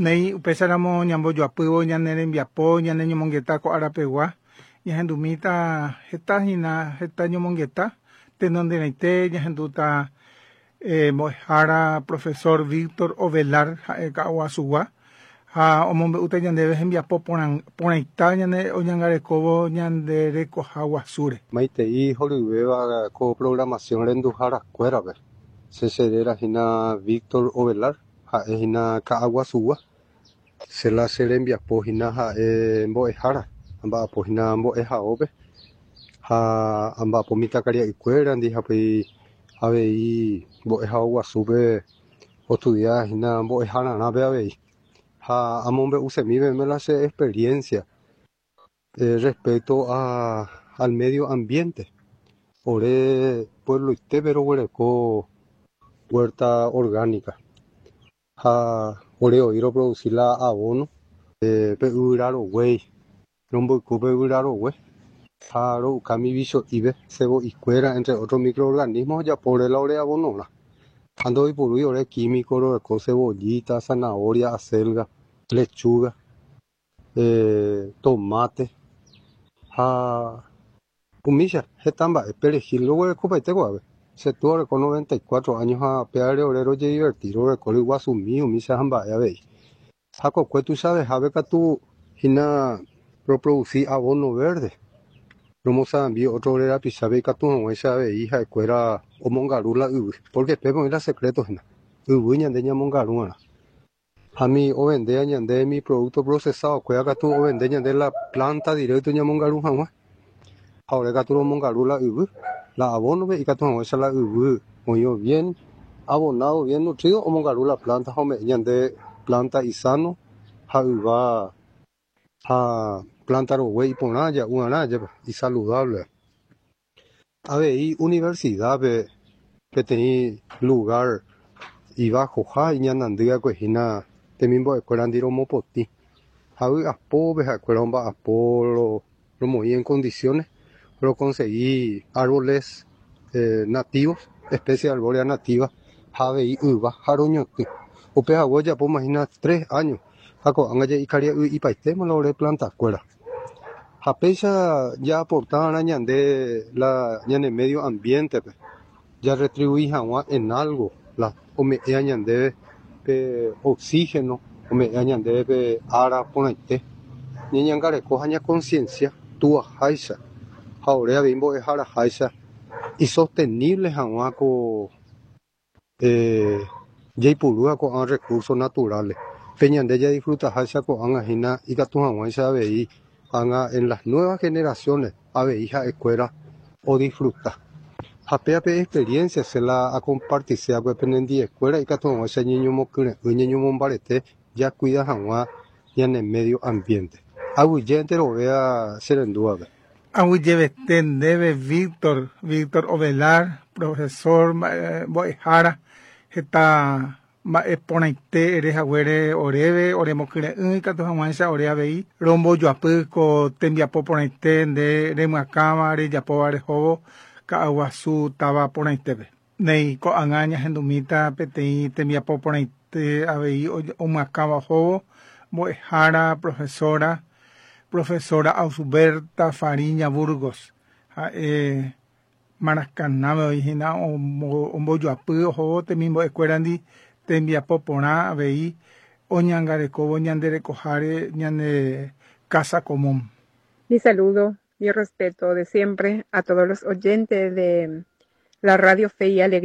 Néi, upéicharamo ñambojoapývo ñane rembiapo, ñane ñomongeta ko árapegua, ñahendumíta heta hína heta ñomongeta, tenonderãite ñahendúta mbo'ehára profesor Víctor Ovelar ha'e Ka'aguasugua ha omombe'úta ñandéve hembiapo porãita ñane oñangarekóvo ñande rekoha guasúre. Maitei horyvéva ko programación renduharakuérape. Che cheréra hína Víctor Ovelar, ha'e hína Ka'aguasugua. Che la che rembiapo hína ha'e mbo'ehára, amba'apo hína mbo'ehaópe ha amba'apo mitãkaria'ykuérandi ha upéi avei mbo'ehao guasúpe ostudia hína mbo'ehararãpe avei. Ha amombe'usemi peẽme la che experiencia respecto a al medio ambiente. Ore puebloitépe roguereko huerta orgánica ha ore oĩ roproduci la abono pe yvyra roguéi, romboyku pe yvyra rogue ha ro'uka mi vicho'ípe cebo'ikuéra entre otros microorganismos ojapo ore la ore abonorã. Ha ndoipurúi ore químico roguereko cebollita, zanahoria, acelga, lechuga, tomate ha umícha heta mba'e perejil roguerekopaite ko'ápe. Che túa oreko 94 años ha péare ore rojediverti, roguereko ryguasumi umícha ha mba'e avei. Ha kokue tuichavehápe katu hína roproduci abono verde. Romosarambi otro ore rapichápe ikatu hag̃uáicha avei ha'ekuéra omongaru la yvy, porque pépe oĩ la secreto hína, yvy ñande ñamongaru'arã. Ha mi ovendéa ñande mi producto procesado kuéra katu ovende ñande la planta directo ñamongaru hag̃ua. Ha ore katu romongaru la yvy, la abono-pe ikatu hag̃uáicha la yvy oĩvo bien abonado, bien nutrido, omongaru la planta ha ome'ẽ ñande planta isano ha yva ha planta rogue iporã ja'u'arã jepe isaludable. Avei universidad-pe peteĩ lugar ivajoha iñanandýakue hína temimbo'ekuérandi romopotĩ. Ha vy'apópe ha'ekuéra omba'apo romoĩ en condiciones roconsegui árboles nativos, especie arbórea nativa ha avei yva ha roñotỹ. Upe hague ojapóma hína 3 años ha ko'ág̃a ja'ikaria'y ipaitéma la ore plantakuéra. Ha péicha jaaporta'arã ñande la ñane medio ambiente-pe, jaretribuí hag̃ua en algo la ome'ẽa ñandéve pe oxígeno, ome'ẽa ñandéve pe ára porãite. Ñañangareko ha ñaconciencia tuaháicha ha ore avei mbo'eharaháicha isostenible hag̃ua ko jaipurúva ko'ã recursos naturales. Pe ñande jadisfrutaháicha ko'ág̃a hína ikatu hag̃uáicha avei ág̃a en las nuevas generaciones avei ha'ekuéra odisfruta. Ha péape experiencia se la acompartiseakue penendiekuéra ikatu hag̃uáicha ñeñomokyre'ỹ, ñeñomombarete jacuida hag̃ua ñane medio ambiente. Aguyje enterovéa cherendúvape. Aguyjevete ndéve Víctor, Víctor Ovelar, profesor mbo'ehára, heta mba'e porãite ere haguére oréve, oremokyre'ỹ ikatu hag̃uáicha ore avei rombojoapy ko tembiapo porãite nde remyakãva rejapóva rehóvo Ka'aguasu táva porãitépe. Néi ko'ág̃a ñahendumíta peteĩ tembiapo porãite avei omyakãva ohóvo mbo'ehára profesora, profesora Ausberta Fariña Burgos ha'e Maracanáme oĩ hína ombojoapy ohóvo temimbo'ekuérandi tembiapo porã avei oñangarekóvo ñande rekoháre ñane casa común. Mi saludo, mi respeto de siempre a todos los oyentes de la Radio Fe y Alegría.